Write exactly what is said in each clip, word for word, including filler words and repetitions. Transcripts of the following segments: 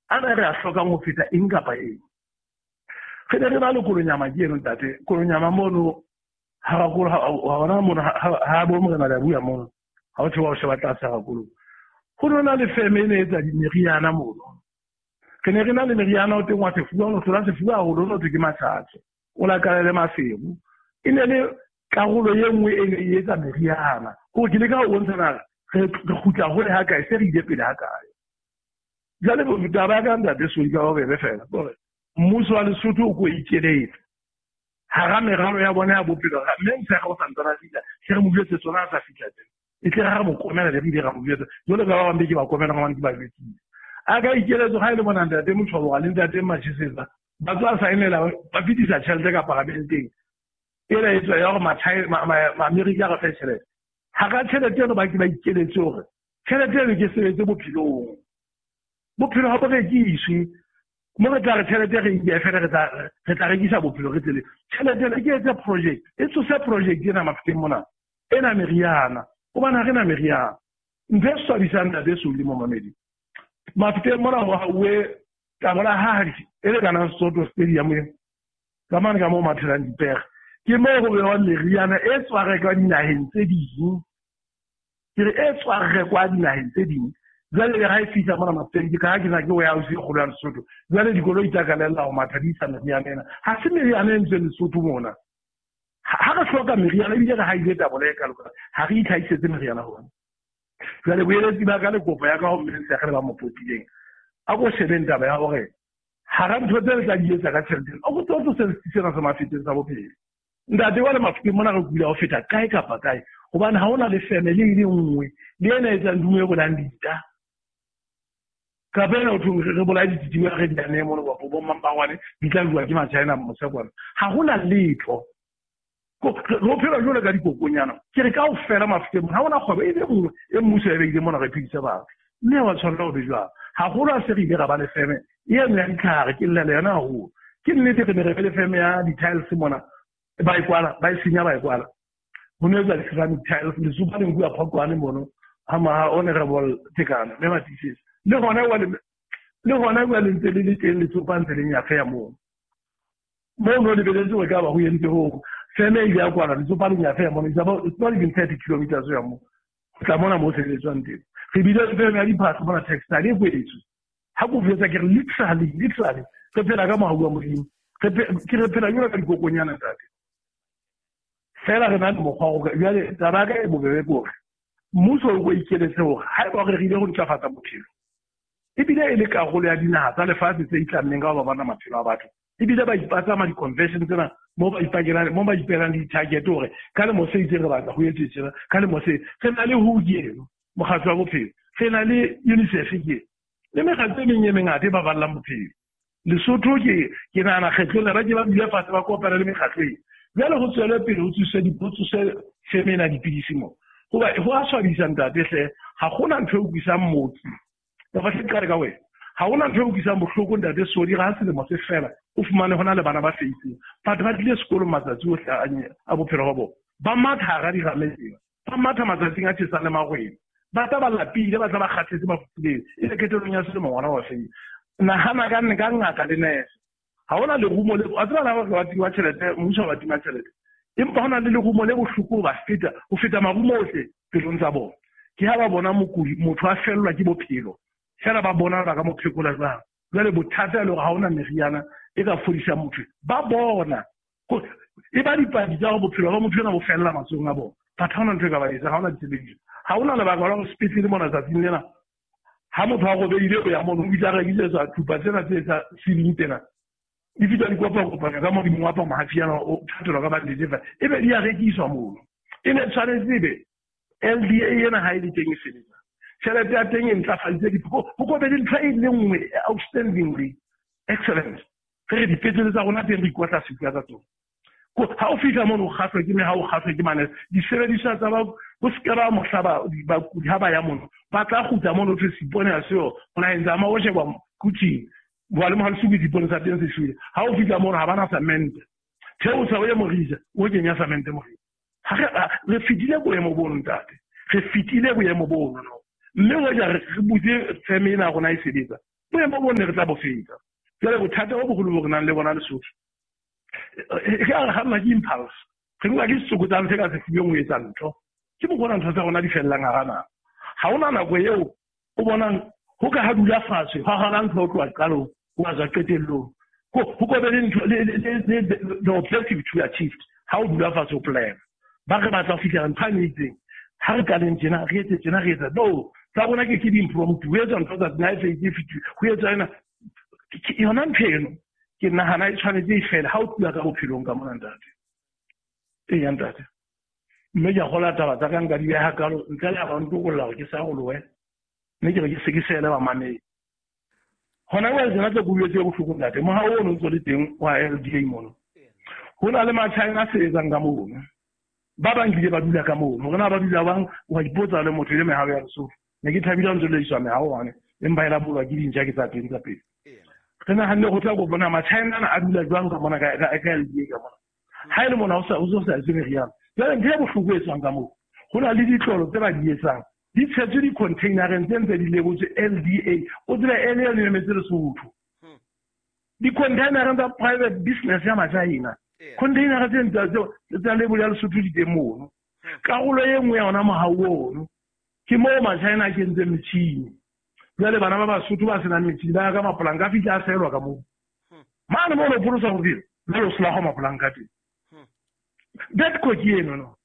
Ana re a hlokang ho feta eng kapa eng. Re ne re na le Kolonyama ke eno ntate. Kolonyama mono ha ra kolo ha hona mono ha bo morena le bua mono. Ha o theoha o sheba tlase ha kolo. Ho nona le feme e ne etsa dimeriana mono. Re ne re na le meriana o teng wa sefuba, o no hlola sefuba haholo, o no thwe ke matjhatjha. O lakalele maseru. E ne le karolo e nngwe e ne e etsa meriana. Hore ke leka ho bontsha na re kgutla hole ha kae, se re ile pele ha kae. Jwale taba ya ka ntate Soli ka bobebe fela hore mmuso wa Lesotho o ko ikeletse hara meralo ya bona ya bophelo. Mme Motshekga o santsane a fihla, se re mo jwetse tsona a sa fihla teng. E tle ra mo komela le re ile ra mo jwetsa. Jwale ka ba bang be ke ba komela hobane ke ba jwetsitse. A ka ikeletso ha e le bona ntate Motshwaboga le ntate Machesetsa ba tswa saenela ba fetisa tjhelete ka paramenteng. Ena e tswa ya hore Maamerika a re fe tjhelete. Hara tjhelete eno ba ke ba ikeletse hore tjhelete eno ke sebetse bophelong. Bophelo ha bo rekiswe. Mo re tla re tjhelete re e fela re tla re tla rekisa bophelo re tsele. Tjhelete ena ke etse project. E tsose project ena Mafeteng mona. Ena meriana. Hobane ha re na meriana. Ntho e swabisang ntate Soli momamedi. Mafeteng mona ho hauwe tabola hadi e lekanang Soto Stadium e. Ka mane ka moo mathelang dipere. Ke moo ho bewang meriana e tswa rekwa dinaheng tse ding. Ke re e tswa rekwa dinaheng tse ding. Jwale le ha e fihla mona Mafeteng, ke ka ha ke na ke warehouse e kgolo ya Lesotho. Jwale dikoloi tsa kalella ho matha di isa meriana ena. Ha se meriana e ntseng Lesotho mona. Ha re hloka meriana ebile re haile tabola e kalo, ha re itlhahisetse meriana hona. Jwale boeletsi ba ka le kopo ya ka ho mme Motshekga le ba mo potileng. A ko shebeng taba ya hore hara ntho tse le tla di etsa ka tjhelete, o ko tlo tlosa sena sa Mafeteng sa bophelo. Ntate wa le Mafeteng mona re kula ho feta kae kapa kae. Hobane ha hona le feme le e le nngwe le ena e etsang dumo e bolang dita. Kapa ena ho thweng re bolaye dititiba re di ane mono bo bo mampangwane di tla bua ke Machina mose kwana. Ha hona letho. Re phela jwalo ka dikokonyana. Ke re kaofela Mafeteng ha hona kgwebo e le nngwe e mmuso e beile mona re phedise batho. Mme wa tshwanela ho be jwalo. Haholo ha se re ile ra ba le feme e eno ya ditlhare, ke llela yona haholo. Ke nnete re ne re be le feme ya di-tiles mona. Ba e kwala, ba e senya ba e kwala. Ho ne etswa di-ceramic tiles, lesupa le nkuwa Phokwane mono ha ma Honorable Tekano mme Matisisi. Le hona wa le le hona wa le ntse le le teng letsopa ntse le nyafeya moo. Moo no lebeletse hore ka ba ho entse ho feme e ya kwala letsopa le nyafeya mono. It's about, it's not even thirty kilometers ho ya moo. Ho tla mona moo sebeletswang teng. Re bile le feme ya diphahlo mona textile e kwetswe. Ha ko jwetsa ke re literally, literally re phela ka mohau wa Modimo. Re ke re phela jwalo ka dikokonyana ntate. Fela re na le mokgwa wa hore jwale taba ya ka e bobebe ke hore mmuso o ko ikeletse hore haeba re ile ho ntlafatsa bophelo, ebile e le karolo ya dinaha tsa lefatshe tse itlammeng ka ho ba bona maphelo a batho, ebile ba ipatsa di-convention tsena moo ba ipakelang, moo ba ipelang di-target hore ka lemo se itseng re batla ho etswe tjena, ka lemo se re na le W H O ke eno, mokgatlo wa bophelo, re na le UNICEF ke le mekgatlo e meng e mengata e baballang bophelo. Lesotho ke ke nahana kgetlong lena ba ke ba dule fatshe ba kopana le mekgatlo ena. Jwale ho tswele pele ho tsuse di, ho tsuse feme ena dipidisi moo. Hoba ho a swabisa ntate hle, ha hona ntho e utlwisang mooki. Kapa hle ke qale ka wena. Ha hona ntho e utlwisang bohloko ntate Soli, ha selemo se fela, o fumane hona le bana ba feiseng. Batho ba tlile sekolong matsatsi ohle a, a bophelo ba bona. Ba matha hara dirame tsena. Ba matha matsatsing a tjhesang le marweng. Ba tla ba lapile, ba tla ba kgathetse ba fufuletswe. E le qetellong ya selemo ngwana wa feile. Nahana ka ka ngaka le nurse. Ha hona lerumo le, wa tseba na hore ba tima tjhelete, mmuso wa tima tjhelete. Empa hona le lerumo le bohloko ba feta, ho feta marumo ohle pelong tsa bona. Ke ha ba bona mokudi, motho a fellwa ke bophelo. Fela ba bona ba ka mo phekola jwang. Jwale bothata e le hore ha hona meriana e ka fodisang motho. Ba bona. E ba dipaki tsa hore bophelo ba motho ena bo fella matsohong a bona. Batho ha hona ntho e ka ba etsang, ha hona disebediswa. Ha hona lebaka la hore sepetlele mona tsatsing lena, ha motho a robehile o ya mono, o bitsa a rekisetswa thupa tsena tse tsa ceiling tsena. Di fihla di kopa-kopanywa ka modimo wa pa mahafiana o thatelwa ka bandage fa. Ebe di a rekiswa mono. E ne tshwanetse ebe L D A ena ha e le teng e sebetsa. Tjhelete ya teng e ntlafaditse di-, ho ko be le ntho e le nngwe outstandingly excellent. Re re dipetlele tsa rona teng re ikotla sefuba ka tsona. Ko, ha o fihla mono o kgahlwa ke meha, o kgahlwa ke manese. Disebediswa tsa ba, ho se ke ba mohla ba, bakudi ha ba ya mono, ba tla kgutla mono ho thwe seipone ha seo, ho naheng tsa ma o sheba kuting. Bua le mohale suku diipone tsa teng se shwele. Ha o fihla mono ha ba na cement. Theosa o ye Morija, o kenya cement Morija. Ha re, ha, re fetile boemo bono ntate. Re fetile boemo bono no. Mme hoja re, re butse feme ena ya rona e sebetsa. Boemo bo ne re tla bo feta. Jwale bothata bo boholo bo re nang le bona Lesotho e ka re kganna ke impulse, re nka ke setsokotsane se ka sefubeng ho etsa ntho. Ke mokgona ntho tsa rona di fellang hara naha. Ha hona nako eo o bonang ho ka ha dula fatshe hwa hana ntho ho tloha qalong ho a tswa qetellong. Ho ko be le ntho le the objective to be achieved. Ha o dula fatshe o plan. Ba re batla ho fihlela ntho e itseng. Ha re qaleng tjena, re etse tjena, re etsa. No, tsa rona ke ke di-impromptu. Ho etswa ntho tsa nna e fetse fetile. Ho etswa ena. Yona ntho eno ke nahana e tshwanetse e fele ha o tluwa ka bophelong ka mona ntate. Eya ntate. Mme ke a kgolwa taba tsa ka nka di beha kalo ntle le ha ba ntokolla hore ke sa rolohe. Mme ke re ke se ke seele bamamedi. Hona jwale tsena tse ke tse bohloko ntate. Mohao ono ntso le teng wa L D A mono. Ho na le Machina a sebetsang ka mono. Ba bang kile ba dula ka mono. Hore na ba dula bang wa ipotsa le motho e le mehao ya Lesotho. Ne ke thabile ha ntse le iswa mehao hwane. Empa e la bolwa ke dintja ke tsa teng tsa pele. Re nahanne ho tla go bona Machina ana a dula jwang ka mona ka ka L D A ka mona. Ha e le mona ho sa ho sa etse meriana. Jwale ntho e bohloko e tswang ka moo. Ho na le ditlolo tse ba di etsang. Di tshetswe di-containereng tse ntse di lebotse L D A. O tsebe L E le emetse Lesotho. Di-containereng tsa private business ya Machina. Containera tse ntse tsa label ya Lesotho di teng mono. Karolo e nngwe ya ona mohau ono ke moo Machina a kentseng metjhini. Jwale bana ba Basotho ba senang metjhini ba ya ka mapolanka a fihla a sehelwa ka moo. Mane moo o pholosa bophelo, jwale o sela ho mapolanka teng. That ke eno no.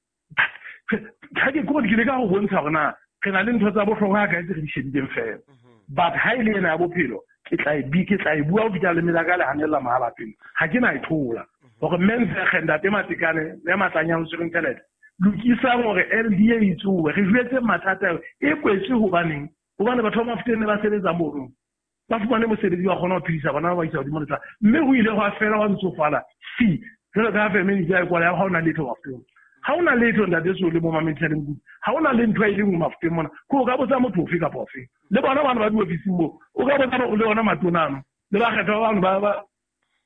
Ha ke kore ke leka ho bontsha hore na re na le ntho tsa bohlokwa ha kae tse re di shebileng feela. But ha e le ena ya bophelo ke tla e ke tla e bua ho fihla le melaka le hanella mahala pele. Ha ke na e thola. Hore mme ntate Matekane le Matlanyang tshwereng tjhelete lokisang hore L D A e tsowe re jwetse mathata e kwetswe hobaneng hobane batho ba Mafeteng ne ba sebetsa mono ba fumane mosebetsi wa kgona ho phedisa bana ba ba isa hodimo le tlase mme ho ile hwa fela wa ntsofala fi jwalo ka ha family ya kwala ha hona letho Mafeteng ha hona letho ntate so le mo mametheleng kudu ha hona le ntho e leng Mafeteng mona ko o ka botsa motho ofe kapa ofe le bona bana ba diofising moo o ka botsa le ona matona le ba kgetha ba bang ba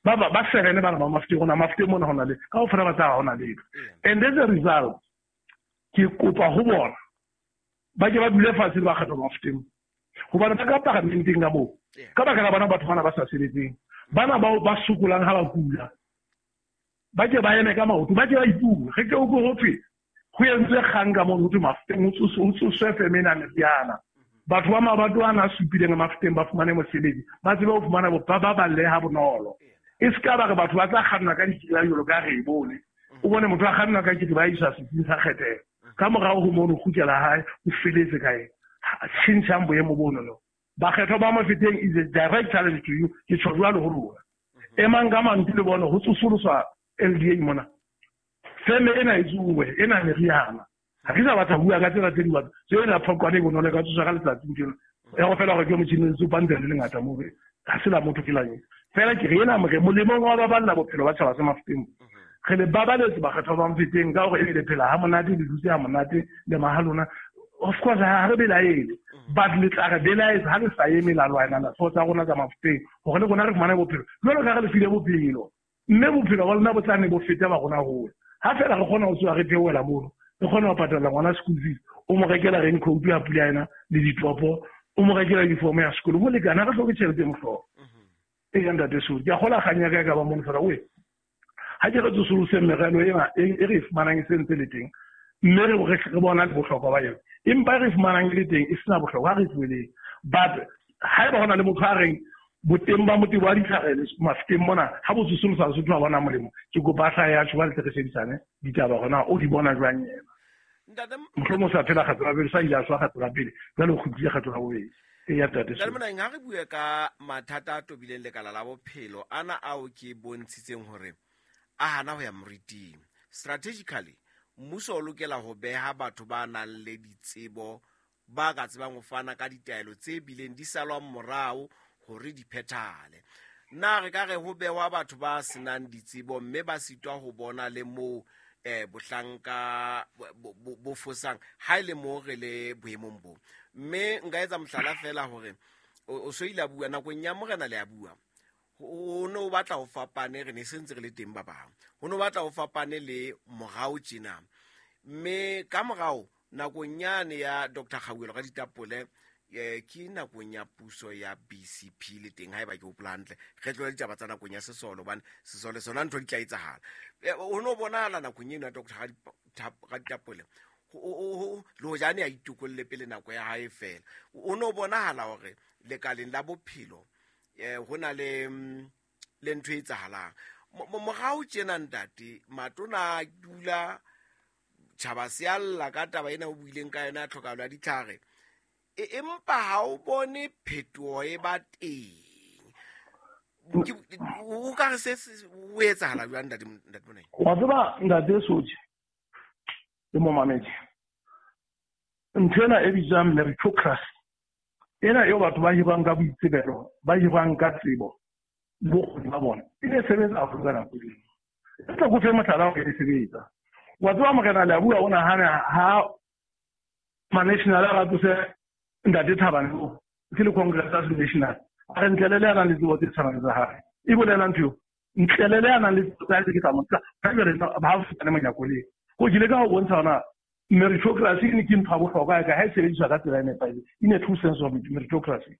ba ba ba serene bana ba Mafeteng rona Mafeteng mona hona le ka ofela ba tsa hona letho. And as a result ke kopa ho bona ba ke ba dule fatshe le ba kgetha ba Mafeteng hobane ba ka paramenteng ka moo ka baka la bana batho bana ba sa sebetseng bana bao ba sokolang ha ba kula ba ke ba eme ka maoto ba ke ba ipue re ke o go thwe ho entswe kgang ka moo ho thwe Mafeteng ho tsoswe femena meriana batho ba mabato ana a supileng Mafeteng ba fumane mosebetsi ba tsebe ho fumana ba ba balle ha bonolo. E se ka ba re batho ba tla kganna ka ditsela jwalo ka re e bone o bone motho a kganna ka kete ba isa setsing sa kgethelo ka morao ho mono kgutlela hae o feletse ka eng tjhentjhang boemo bono no. Bakgethwa ba Mafeteng is a direct challenge to you ke tjho jwalo ho lona emang ka mantswe le bone ho tsosoloswa L D A mona feme ena e tsowe ena meriana ha ke sa batla ho bua ka tsena tse di batla tseo ena phoqwane e bonolo ka tsoswa ka letsatsi ntho ya go fela hore ke motjhini o tsopantse le lengata moo ha se la motho ke lang fela ke re ena more molemong wa baballa bophelo ba tjhaba sa Mafeteng re le babaletse bakgethwa ba Mafeteng ka hore e le phela ha monate le dutse ha monate le mahalona of course ha re belaele but le tla re belaetse ha le sa eme la lwana la tsa rona tsa Mafeteng hore le rona re fumane bophelo jwalo ka re le file bophelo mme bophelo ba lona bo tla ne bo feta ba rona hole ha fela re kgona ho tswa re theohela mono re kgona ho patala ngwana school fees o mo rekela raincoat ya pula ena le ditopo o mo rekela uniform ya sekolo ho lekana re hloke tjhelete mohlolo e ya ntate so ke a kgola kganya ka ka ba mono fela we ha ke re tsosolose merero ena e re fumanang e sentse le teng mme re re bona le bohlokwa ba yona empa re fumanang le teng e sena bohlokwa re tlohele but ha eba hona le motho a reng boteng ba motebo wa ditlhare Mafeteng mona ha bo tsosolosa Lesotho ha bona molemo ke kopa hlaha ya tjho ba le re shebisane ditaba hona o di bona jwang yena mohlomong sa phela kgetho la pele sa ile a swa kgetho la pele jwale o kgutlile kgetho la bobedi e ya tate so. Ntate ha re bue ka mathata a tobileng lekala la bophelo ana ao ke bontshitseng hore a hana ho ya moriting strategically mmuso o lokela ho beha batho ba nang le ditsebo ba ka tsebang ho fana ka ditaelo tse bileng di salwang morao hore di phethahale. Na re ka re ho behwa batho ba senang ditsebo mme ba sitwa ho bona le moo eh bohlanka bo fosang ha ile mo re le boemong bo mme nka etsa mohlala fela hore o so ile bua nakong ya morena le a bua o no batla ho fapane re ne sentse re le teng ba bang ho no batla ho fapane le morao tjena mme ka morao nakong yane ya Doctor Kgauelo ka ditapole eh ke nakong ya puso ya B C P le teng haeba ke hopola hantle re tlohele ditaba tsa nakong ya sesole hobane sesole sona ntho di tla etsahala. O no bonahala nakong eno ya Doctor Raditapole le hojane a itokolle pele nako ya hae fela. O no bonahala hore lekaleng la bophelo eh ho na le le ntho e etsahalang. Morao tjena ntate matona a dula tjhaba se a lla ka taba ena o buileng ka yona ya tlhokahalo ya ditlhare. Empa ha o bone phetoho e ba teng. O ka re se o etsahala jwang ntate ntate Monai? Wa tseba ntate Soji le momamedi, ntho ena e bitswang meritocracy ena eo batho ba hirwang ka boitsebelo, ba hirwang ka tsebo le bokgoni ba bona, e ne sebetsa haholo ka nako eno. E tla ko fe mohlala hore e sebetsa. Wa tseba morena le a bua o nahana ha ma-national a ba tlose ntate Thabane o ke le Congress ya National a re ntlele le a nang le tsebo tse tshwanang tsa hae. E bolela ntho eo, ntlele le a nang le tsebo tsa hae ke tla mo tla ha jwale ba ha fumane monyako le. Ko ke ile ka ho bontsha hona meritocracy ke ntho ya bohlokwa ka ha e sebediswa ka tsela e nepahetseng. In a true sense of meritocracy.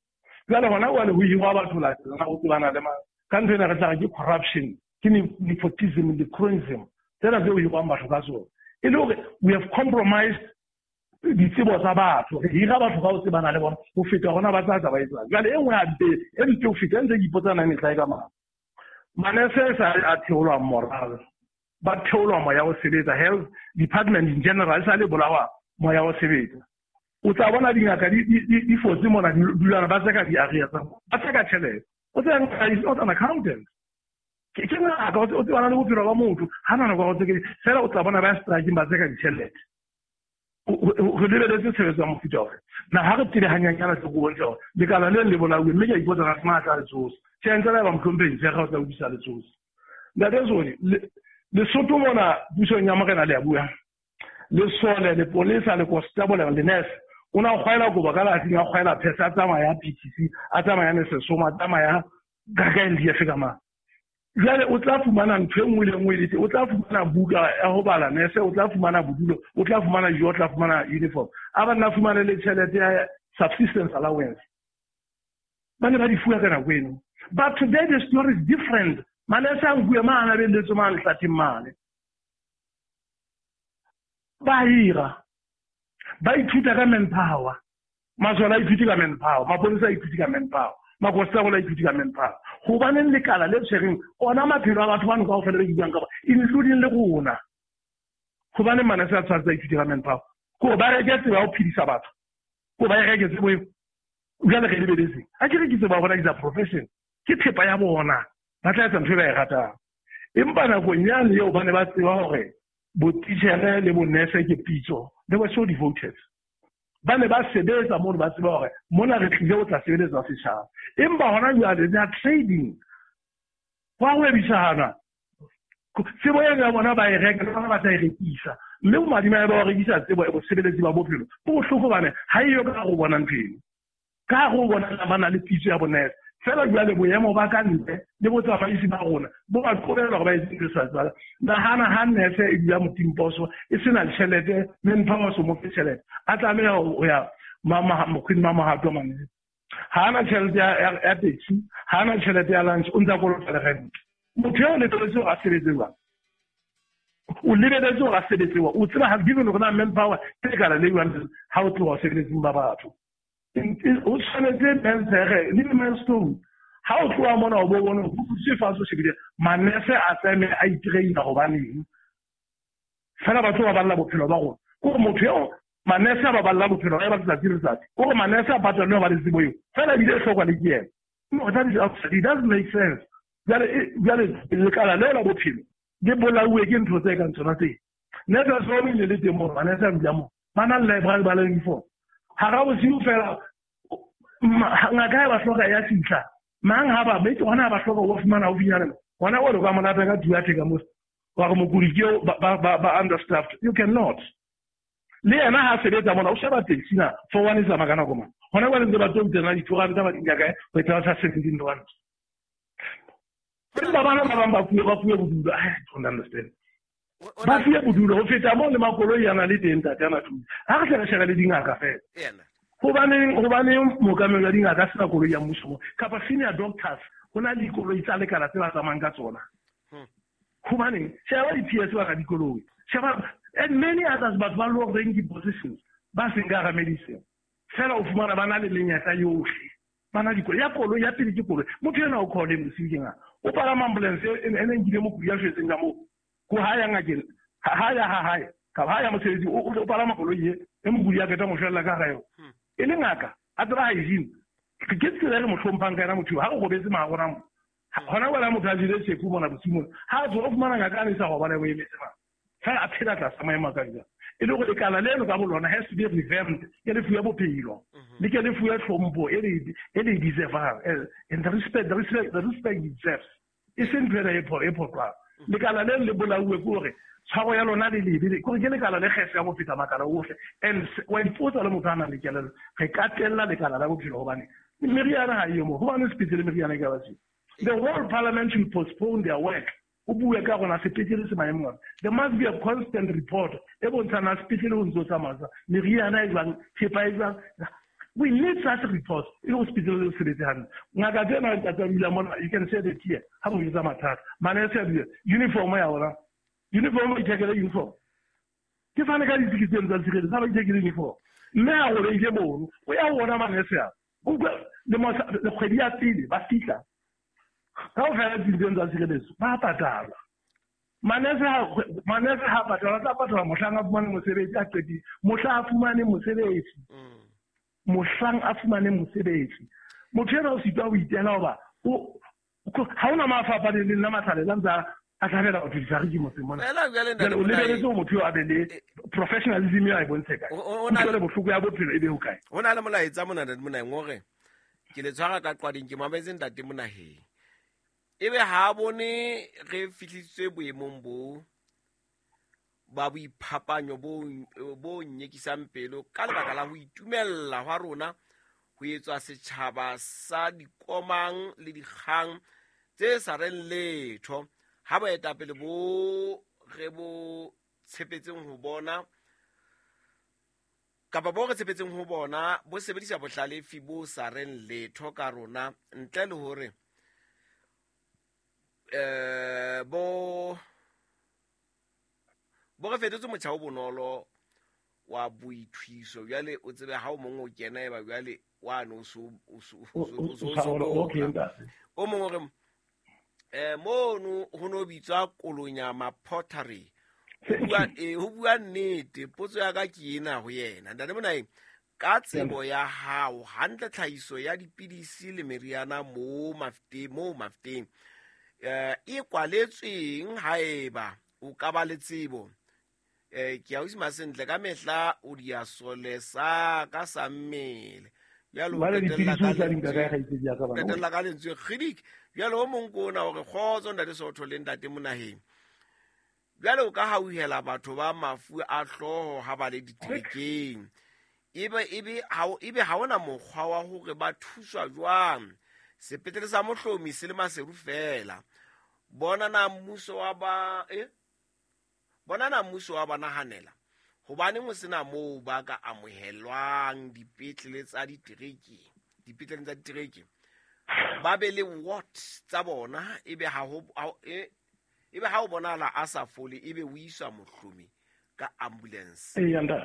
Jwale hona jwale ho hirwa batho latelana ho tsebana le mang. Ka ntho ena re tla re ke corruption, ke nepotism le cronyism. Tsena tseo hirwang batho ka tsona. E le hore we have compromised ditsebo tsa batho, re hira batho ka ho tsebana le bona ho feta hona ba tla tsa ba etsang. Jwale e nngwe hape e mpe ho feta ntse ke ipotsa na mehla e ka mang. Manese sa a theolwa moral, ba theolwa moya o sebetsa. Health department in general sa le bolawa moya o sebetsa. O tla bona dingaka di di fotse mona di dulana ba tseka di-area tsa ba tseka tjhelete. O tseba ngaka is not an accountant. Ke ke ngaka o tsebana le bophelo ba motho, ha na nako ya ho tseka fela o tla bona ba striking ba tseka ditjhelete. Re lebeletse tshebetso ya mofuta ofe? Na ha re tsebe hanyanyana tse go bontsha hore lekala le le bolauwe, mme ke a ipotsa na se tla le tsosa. Tjhe, ntse le ba mohlomphehi Tshekga o tla utlwisa le tsosa. Ntate Zoni, Lesotho mona pusong ya morena le a bua. Lesole, lepolesa, le constable, le nurse. O na kgwaela kobo ka latsing, a kgwaela phese, a tsamaya P T C, a tsamaya Nesesoma, a tsamaya ka N D F ka mang. Jwale o tla fumana ntho e nngwe le nngwe le teng. O tla fumana buka ya ho bala nurse, o tla fumana bodulo, o tla fumana dijo, o tla fumana uniform. A ba nna fumane le tjhelete ya subsistence allowance. Ba ne ba di fuwa ka nako eno. But today the story is different. Manese a nkuwe mane, a belletswe mane hlatheng mane. Ba hira. Ba ithuta ka manpower. Masole a ithute ka manpower. Mapolesa a ithute ka manpower. Makonstabole a ithute ka manpower. Hobaneng lekala le tshwereng ona maphelo a batho bano kaofela be ke buang ka bona, including le rona. Hobaneng manese a tshwanetse a ithute ka manpower? Ke hore ba reke tsebo ya ho phedisa batho. Ke hore ba e reke tsebo eo. Jwale re lebeletse. Ha ke re ke tsebo ya bona is a profession. Ke thepa ya bona. Ba tla etsa ntho e ba e ratang. Empa nakong yane eo ba ne ba tseba hore botitjhere le bonese ke pitso. They were so devoted. Ba ne ba sebetsa mono, ba tseba hore mona re tlile ho tla sebeletsa setjhaba. Empa hona jwale they are trading. Hwa hwebisana. Tsebo eno ya bona ba e reka, le bona ba tla e rekisa. Mme bomadimabe ba ho rekisa tsebo e bosebeletsi ba bophelo bo bohloko hobane ha eyo ka hare ho bona ntho eno. Ka hare ho bona ba na le pitso ya bonese. Fela jwale boemo ba ka ntle le botsamaisi ba rona bo ba qobella hore ba etse ntho e sa tswala. Nahana ha nurse e dula motimposo e sena tjhelete, manpower so mo fe tjhelete, a tlameha ho ya mokgweng wa mohato mane. Ha ana tjhelete ya ya taxi, ha ana tjhelete ya lunch, o ntsa kolota le rent. Motho eo lebeletse hore a sebetse jwang? O lebeletse hore a sebetse jwang? O tseba ha given hore na manpower ke lekala le jwang ha o tloha sebeletsing ba batho. O tshwanetse mensere le milestone. Ha o tloha mona o bo bone ho se fatshe o shebile manese a tseme a itraina hobaneng. Fela batho ba balla bophelo ba rona. Ke hore motho eo manese a ba balla bophelo ba letsatsi le letsatsi. Ke hore manese a patalwe ba le tsebo eo. Fela ebile e hlokwa le ke yena. No, that is absurd. It doesn't make sense. Jwale jwale lekala leo la bophelo le bolauwe ke ntho tse kang tsona tse. Nurse so le le teng moo manese a dula moo. Ba na le library ba le uniform. Hara bosiu fela ngaka e ba hloka ya fihla. Mang ha ba metse hona ba hloka ho fumana haufinyana. Hona o re ka monate ka two ka mo. Wa re mokudi ke ba ba ba understaffed. You cannot. Le yena ha sebetsa mona o sheba taxi na for one is a makana koma. Hona ba ntse ba tlo tsena di-two rand ba di kae ho etsa sa seventeen rand. Empa bana ba bang ba fuwe ba fuwe bodulo. I don't understand. Ba fuwe bodulo ho feta moo le makoloi a na le teng ntate ana thusa. Ha re tle re shebe le dingaka fela. Hobaneng hobaneng mookamedi wa dingaka a sena koloi ya mmuso kapa senior doctors ho na le dikoloi tsa lekala tse ba tsamayang ka tsona. Hobaneng sheba di-P S ba ka dikoloi, sheba and many others batho ba low ranking positions ba seng ka hara medicine fela o fumana ba na le menyetla yohle, ba na dikoloi. Ya koloi ya pele ke koloi, motho ena o call bosiu ke ngaka o palama ambulance e ne nkile mokudi ya shwetseng ka moo ko ha ya ngakeng, ha ya ha hae kapa ha ya mosebetsi o palama koloi e e mokudi ya qeta mo shwella ka hara yona e le ngaka a tseba hygiene. Ke tsela e re mo hlomphang ka yona motho ha o robetse maharona mo hona wena motho a jele tjhefu mona bosiu mona ha a tswa o fumana ngaka a ne sa robala o emetse mang fela a phela tlasa maemo a ka jwang. E le hore lekala leno ka bolona has to be revamped, ke le fuwe bophelo le ke le fuwe tlhompho e le e le deservang and the respect the respect the respect it deserves. E seng ntho ena e phoqwang. Lekala leno le bolauwe ke hore tshwaro ya lona le lebe, kore ke lekala le kgese ya ho feta makala ohle. And wa ipotsa le motho a nang le kelello, re ka tella lekala la bophelo hobane meriana ha eyo moo, hobane sepetlele meriana e ka ba siyo. The whole parliament should postpone their work. O bue ka rona sepetlele se maemong afe. There must be a constant report e bontshang na sepetlele ho ntso tsamaya jwang, meriana e jwang, thepa e jwang. We need such reports e le ho sepetlele se sebetse hantle. Ngaka tsena ntate wa dula mona, you can say the tear ha mo jwetsa mathata. Manese a bua uniform ya ona, uniform o ithekele uniform. Ke fane ka ditsiki tseno tsa tshireletso, ha ba ithekele uniform. Mme a robehile mono, o ya ho ona manese a. O utlwa le kgwedi ya pele ba fihla kaofela ditsing tsa tshireletso ba patala. Manese ha manese ha patala, tla patala mohlang a fumane mosebetsi a qetile, mohlang a fumane mosebetsi, mohlang a fumane mosebetsi. Motho ena o sitwa ho itela hoba o ha hona mafapha le leng la matlhalela ntse a thabela batho difariki motseng mona. O lebeletse hore motho eo a be le professionalism eo a e bontshe kae, utlwele bohloko ya bophelo e be hokae. Ho na le molaetsa mona ntate Monaheng hore ke le tshwara ka qwading, ke mametse ntate Monaheng. Ebe ha bone re fihlisitswe boemong bo ba boiphapanyo bo bo nyekisang pelo ka lebaka la ho itumella hwa rona ho etswa setjhaba sa dikomang le dikgang tse sa reng letho. Ha boetapele bo re bo tshepetseng ho bona kapa bo re tshepetseng ho bona bo sebedisa bohlalefi bo sa reng letho ka rona ntle le hore eh bo bo re fetotse motjha o bonolo wa boithuiso. Jwale o tsebe ha o mong o kena eba jwale wa no so o so o mong o re eh mono ho no bitswa Kolonyama Pottery. Ho bua eh ho bua nnete, potso ya ka ke ena ho yena ntate Monaheng, ka tsebo ya hao hantle tlhahiso ya dipidisi le meriana mo mafeteng mo mafeteng eh e kwaletsweng haeba o ka ba le tsebo eh ke a usima sentle ka mehla o di a solesa ka sa mmele jwale o qetella ka lentswe kgidik. Jwale o mong ko ona hore kgotso ntate Sootho le ntate Monaheng, jwale o ka hauhela batho ba mafu a hlooho ha ba le diterekeng, ebe ebe ha ebe ha ona mokgwa wa hore ba thuswa jwang. Sepetlele sa Mohlomi se le Maseru fela. Bona na mmuso wa ba eh bona na mmuso wa ba nahanela hobaneng ho sena moo ba ka amohelwang dipetlele tsa ditereke, dipetlele tsa ditereke ba be le ward tsa bona, ebe ha ho ebe ha o bonala a sa fole ebe o iswa Mohlomi ka ambulance.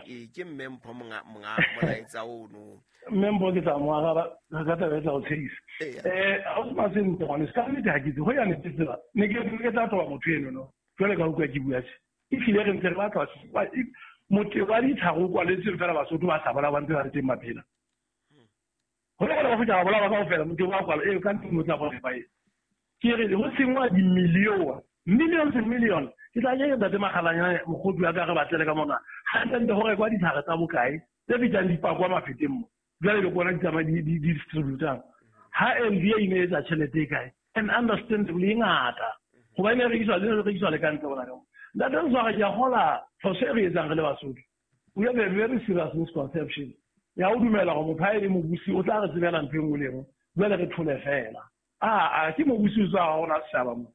E ke mme Mpho monga monga molaetsa ono. Mme Mpho ke tla mo araba ka taba e tla o tshehisa. Eh ha o se sentle ngwane se ka nnete ha ke itse ho ya ne tsela ne ke ke tla toba motho eno no jwale ka utlwa ke bua tje e hlile re ntse re batla motho wa ditlhare o kwaletseng fela Basotho ba sa bola ba ntse ba le teng maphela. Ho le ba feta ba bola ba kaofela motho wa kwala e ka ntlo tla bona ba e ke re ho sengwa di million millions and millions. Ke tla ke ntate Makgalanyane mokgotsi wa ka re batlele ka mona hantle ho rekwa ditlhare tsa bokae tse fetang dipakwa mafeteng mo jwale le bona di tsamaya di distributang ha M V A e ne etsa tjhelete e kae and understandably e ngata hobane e rekiswa le rekiswa le ka ntle bona ka ntate Ntswara ke a kgola phoso e re etsang re le Basotho. We have a very serious misconception ya ho dumela hore motho ha e le mobusi o tla re tsebela ntho e nngwe le e nngwe jwale re thole fela. A a ke mobusi o tswa ha hona setjhaba mo.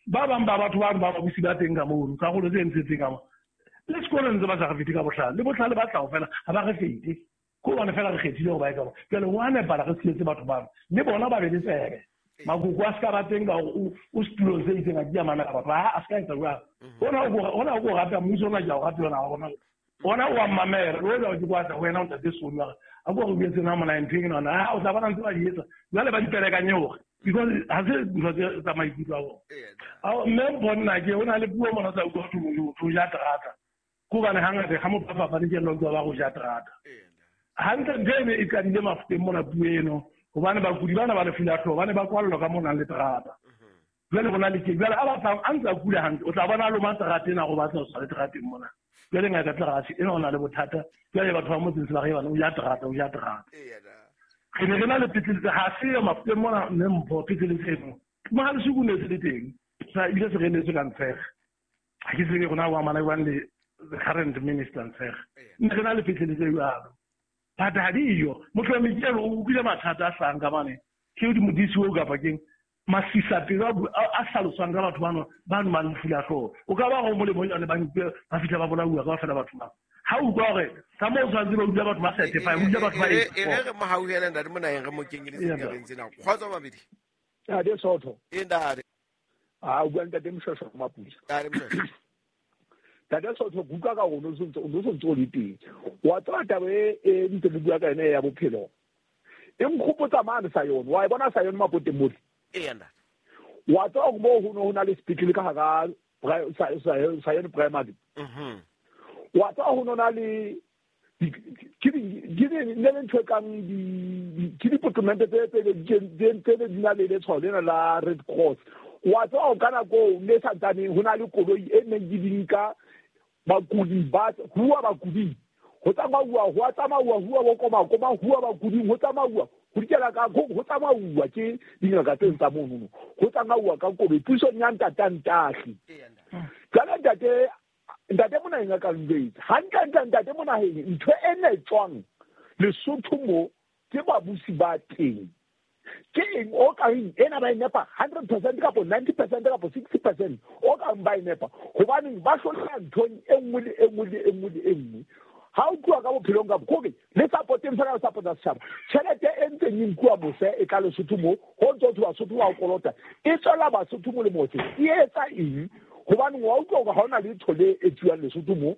Ba bang ba batho ba ba babusi ba teng ka mono karolo tse ntsetseng ka mo le sekolong ntse ba sa re fete ka bohlale le bohlale ba tla ho fela ha ba re fete. Ko hobane fela re kgethile hore ba etsa jwale ho a nepahala re tshehetse batho bano le bona ba be le tsebe. Makoko a ska ba teng ka hore o setulong se itseng a ke a mamela batho a ska etsa jwalo. Hona hona o rata mmuso ona ke a o rata yona hona. Ona o a mamela le wena ke kwatla ho wena o ntate Soni wa a ko re buetse na mona ntho ena na o tla bona ntse ba di etsa jwale ba diperekanye hore because ha se ntho tse tsa maikutlo a bona. A mme bona ke ona le puo mona tsa utlwa ho motho ja terata. Ko bana hangata ha motho a fapane ke lo ba go ja terata. Hantle ntho ene e qadile Mafokeng mona puo eno hobane bakudi bana ba lefu la hlooho ba ne ba kwallwa ka mona le terata. Jwale rona le ke jwale a batlang a ntse a kula hantle o tla bona a loma terata ena go batla ho tswa le terateng mona. Jwale ngaka tla re ena o na le bothata jwale batho ba motseng se ba re bana o ja terata o ja terata. Re ne re na le petlele ha se yo Mafokeng mona mme Mpho petlele tseno Mohalesuku ne se le teng sa ile se re letse ka Ntshege. Ha ke tsebe rona wa mana jwang le the current minister Ntshege. Ne re na le petlele tse jwalo. But ha diyo motho wa mekelo o utlwile mathata a hlahang ka mane ke di modisi o kapa keng masisa pelo a hlaloswang ka batho bano ba nwang lefu la hlooho o ka ba go molemo jwale ba nkwe ba fihla ba bolauwa kaofela batho ba ha o utlwa hore ka moo o tshwanetse ba utlwa batho ba certify utlwa batho ba e re re mo hauhele ntate Monaheng re mo kenyeletse ditabeng tsena kgotso mabedi Ntate Sotho e ntate a o bua ntate Mshweshwe Maputsa ntate Mshweshwe Ntate Sotho kuka ka rona o ntse o ntse o le teng wa tseba taba e e ntse le bua ka yona ya bophelo e nkgopotsa mane sa yone wa e bona sa yone Mapoteng mole e ntate wa tseba hore moo ho ne ho na le sepetlele ka hara sa yone primary mhm wa tseba ho no na le ke di ne le ntho e kang di ke dipotomente tse tse tse di na le letshwao lena la Red Cross wa tseba ho ka nako ne santsaneng ho na le koloi e neng di nka bakudi ba huwa bakudi ho tsamauwa ho tsamauwa huwa bo koma koma huwa bakudi ho tsamauwa ho dikela ka ho tsamauwa ke dingaka tse tsa mono ho tsamauwa ka koloi pusong ya ntatantahli jwale ntate ntate Monaheng a ka njwetsa hantle ntle ntate Monaheng ntho e ne tswang Lesotho mo ke babusi ba teng ke eng o ka reng ena ba e nepa hundred percent kapo ninety percent kapo sixty percent o ka ba e nepa hobaneng ba hlola nthong e nngwe le e nngwe le e nngwe le e nngwe ha o tloha ka bophelong ka kore le supporteng fela o support-a setjhaba tjhelete e ntseng e nkuwa mose e tla Lesotho mo ho ntso ho Basotho ba o kolota e tswela Basotho molemo se e etsa eng hobane wa utlwa hore ha hona letho le etsuwang Lesotho mo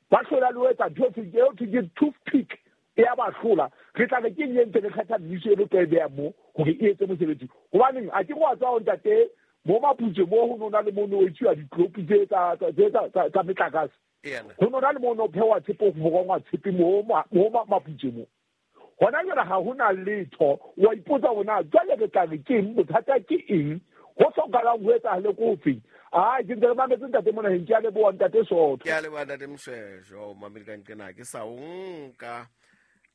ba hlola le ho etsa ntho e thwe ke toothpick e ya ba hlola re tla re ke eng e ntse re kgetha mmuso e re tlo e beha mo hore e etse mosebetsi hobaneng a ke go a tswa ho ntate mo Maputse mo ho nona le mono o etsuwa ditlopi tse tsa tsa tsa metlakase ho nona le mono phewa tshepo ho borongwa tshepe mo mo Maputse mo hona jwale ha hona letho wa ipotsa hore na jwale re tla re ke eng bothata ke eng ho hlokahalang ho etsahale ko feng a ke ntse re mametse ntate Monaheng ke a leboha ntate Sotho ke a leboha ntate Mshweshwe o mamedi ka nqena ke sa o nka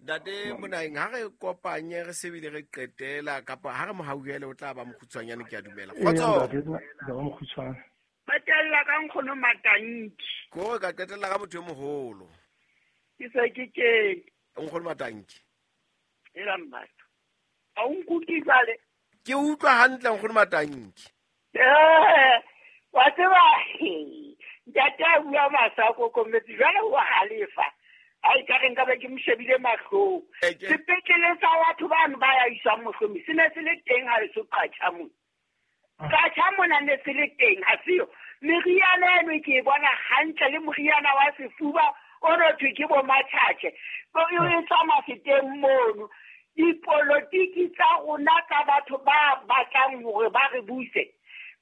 ntate Monaheng ha re kopanye re sebile re qetela kapa ha re mo hauhele o tla ba mokgutshwanyane ke a dumela kgotso qetella ka nkgono Matanki ko ka qetella ka motho e moholo ke se ke ke nkgono Matanki e la mbatho a o nkutlwe jwale ke utlwa hantle nkgono Matanki eh wa tseba ntate a bua masako kometse jwale o halefa ai ka re nka be ke mo shebile mahlong sepetlele sa batho bano ba ya iswang mohlomi se ne se le teng ha leso qatjha mona qatjha mona ne se le teng ha seyo meriana eno ke e bona hantle le moriana wa sefuba o no thwe ke bo matjhatjhe e tswa Mafeteng mono dipolotiki tsa rona tsa batho ba batlang hore ba re buse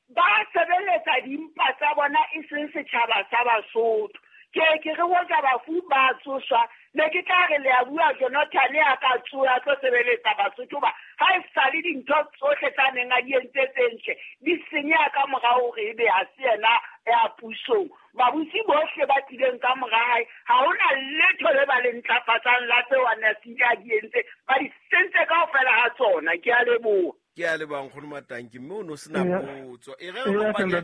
ba sebeletsa dimpa tsa bona e seng setjhaba sa Basotho ke ke re hoja bafu ba tsoswa ne ke tla re le a bua Jonathan a ka tsoha tlo sebeletsa Basotho ba ha e sale dintho tsohle tsa neng a di entse tse ntle di senyeha ka morao hore ebe ha se yena ya pusong babusi bohle ba tlileng ka mora hae ha hona letho le ba le ntlafatsang la tseo a ne a se a di entse ba di sentse kaofela ha tsona ke a leboha ke a leboha nkgono Matanki mme o no sena potso e re re kopanye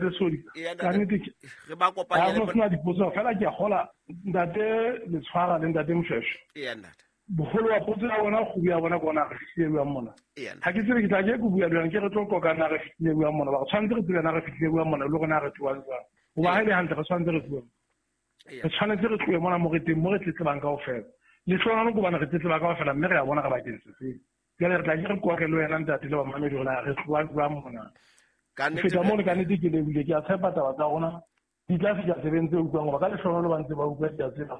re ba kopanye le sena dipotso fela ke a kgola ntate Letshwara le ntate Mshweshwe e ntate boholo wa potso ya bona kgubu ya bona ke ona re fihlile bua mona ha ke tsebe ke tla ke ke bua le ke re tlo qoka na re fihlile bua mona ba re tshwanetse re tsebe na re fihlile bua mona le rona re tloang jwang hoba ha e le hantle re tshwanetse re tlohe re tshwanetse re tlohe mona mo re teng mo re tletlebang kaofela Lehlohonolo ke hobane re tletleba kaofela mme re a bona re bakeng se feng. Jwale re tla ke re qoqe le wena ntate le bamamedi hore na re tloha jwang mona. Ka Ho nnete feta mono ka nnete ke lebohile, ke a tshepa taba tsa rona di tla fihla tsebeng tse utlwang hoba ka lehlohonolo ba ntse ba utlwa ke a tseba.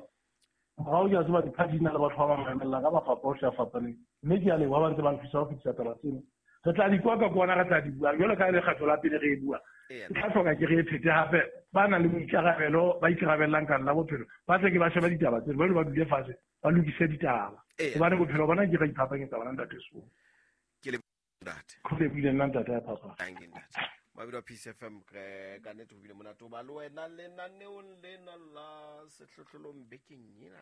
Morao ke a tseba di-party di na le batho ba ba mamellang ka mafapha ohle a fapaneng. Mme ke a leboha ba ntse ba nthusa ho fetisa taba tseno. Re tla di kwa ka kwana, re tla di bua. Jwalo ka ha e le kgetlo la pele re e bua. Eya. Ke tla hloka ke re e phete hape. Ba nang le boikarabelo, ba ikarabellang ka nna bophelo, ba tle ke ba shebe ditaba tseno, ba ba dule fatshe, ba lokise ditaba. Eya. Hobane bophelo bona ke ra iphapanyetsa bona ntate Seholo. Ke lebohile ntate. Ho lebohile nna ntate ya Phapang. Thank you ntate. Mabidi wa Peace F M, re ka nnete ho bile monate ho ba le wena lenaneong lena la sehlohlolong bekeng ena.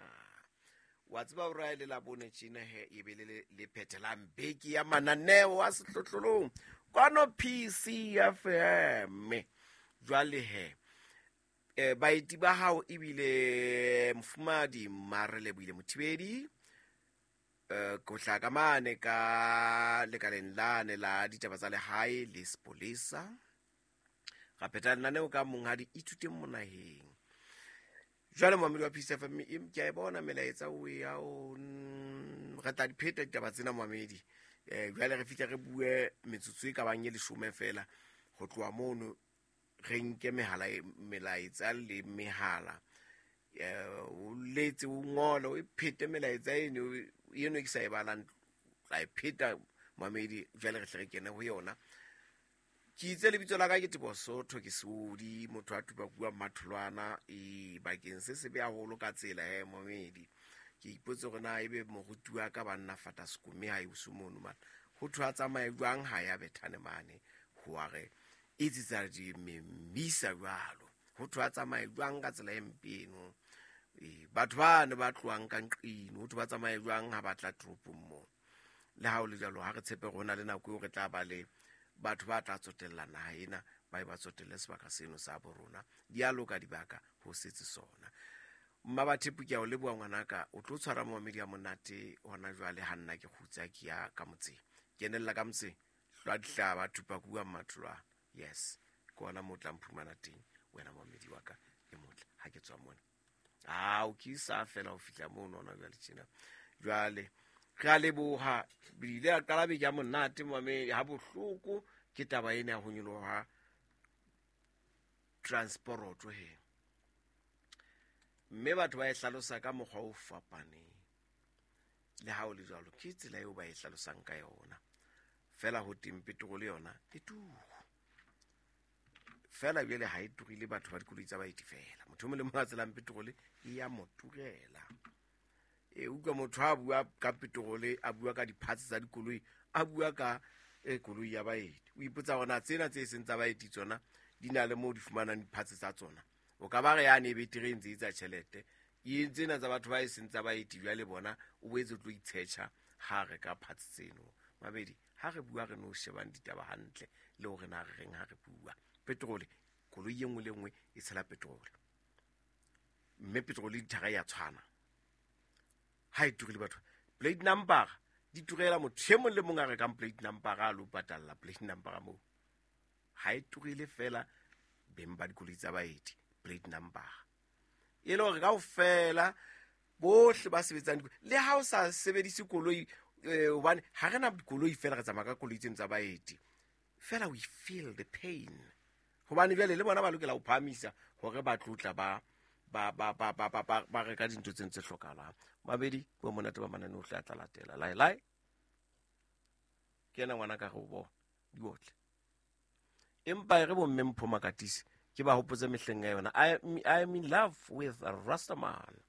Wa tseba hore ha e le Labone tjena he, e be le le, le phethelang beke ya mananeo a sehlohlolong kwano P C F M. Jwale he, eh, baeti ba hao ebile mofumahadi Marelebohile Mothibedi, eh, ko hlaha ka mane ka lekaleng lane la ditaba tsa lehae le sepolesa. Ra phetha lenaneo ka monghadi Ithuteng Monaheng. Jwale momamedi wa Peace F M, em, ke a e bona melaetsa o ya o, mm, re tla di pheta ditaba tsena momamedi. Eh, jwale re fihle re bue metsotso e ka bang e leshome fela ho tloha mono re nke mehala e, melaetsa le mehala. Eh, o letse, o ngole, o phete melaetsa eno, eno e ke sa e balang, tla e pheta momamedi, jwale re hle re kene ho yona. Ke itse lebitso la ka ke Teboho Sotho, ke Seodi, motho a tupa bua Matholwana, e bakeng se sebe haholo ka tsela he momamedi. Ke ipotse hore na ebe moruti wa ka banna fata sekome ha e uso mono mane. Ho thwe a tsamaye jwang ha ya Bethane mane, ho wa re itse di memisa jwalo. Ho thwe a tsamaye jwang ka tsela e mpe eno. E, batho ba ne ba tlohang ka nqino, ho thwe ba tsamaye jwang ha ba tla toropong moo. Le ha ho le jwalo, ha re tshepe hore ho na le nako eo re tla ba le batho ba tla tsotella naha ena, ba e ba tsotelle sebaka seno sa bo rona. Di a loka dibaka ho setse sona. Mmabathepu, ke a o leboha ngwanaka, o tlo tshwara momamedi ya monate hona jwale ha nna ke kgutsa ke ya ka motseng. Kenella ka motseng, hlwa dihlaba, thupa kua Mmatholwana. Yes, ke hona moo o tla mphumana teng, wena momamedi wa ka e motle, ha ke tswa mona. Ao, ke sa fela ho fihla mono hona jwale tjena. Jwale re a leboha, bile a qala beke ya monate momamedi, ha bohloko ke taba ena ya ho nyoloha transporoto he. Mme batho ba e hlalosa ka mokgwa o fapaneng. Le ha ho le jwalo, ke tsela eo ba e hlalosang ka yona. Fela ho teng petrol yona e turu. Fela jwale ha e turile batho ba dikoloi tsa baeti fela. Motho o mong le mong a tshelang petrol e ya mo turela. E utlwa motho ha bua ka petrol, a bua ka di-parts tsa dikoloi, a bua ka e koloi ya baeti. O ipotsa hore na tsena tse seng tsa baeti tsona di na le moo di fumanang di-parts tsa tsona. O ka ba re yane e betere e ntse e etsa tjhelete. E tsena tsa batho ba e seng tsa baeti jwale bona o boetse o tlo itshetjha ha re ka parts tseno. Mabedi, ha re bua re no shebang ditaba hantle le hore na re reng ha re bua. Petrol, koloi e nngwe le nngwe e tshela petrol. Mme petrol le dithara ya tshwana. Ha e turile batho. Plate number di turela motho e mong le mong a rekang plate number a lo patalla plate number moo. Ha e turile fela beng ba dikoloi tsa baeti plate number. E le hore kaofela bohle ba sebetsang dikoloi, le ha o sa sebedise koloi, eh, hobane ha re na dikoloi fela re tsamaya ka koloi tseno tsa baeti. Fela we feel the pain. Hobane jwale le bona ba lokela ho phahamisa hore ba tlotla ba, ba, ba, ba, ba, ba, ba, ba reka dintho tseno tse hlokahalang. Mabedi, bo monate ba mananeo ohle a tla latela. Lai, lai. Ke yena ngwana ka re o bona, di otle. Empa e re bo mme Mpho Makatisi, ke ba hopotse mehleng ya yona. I, I am in love with a Rastaman.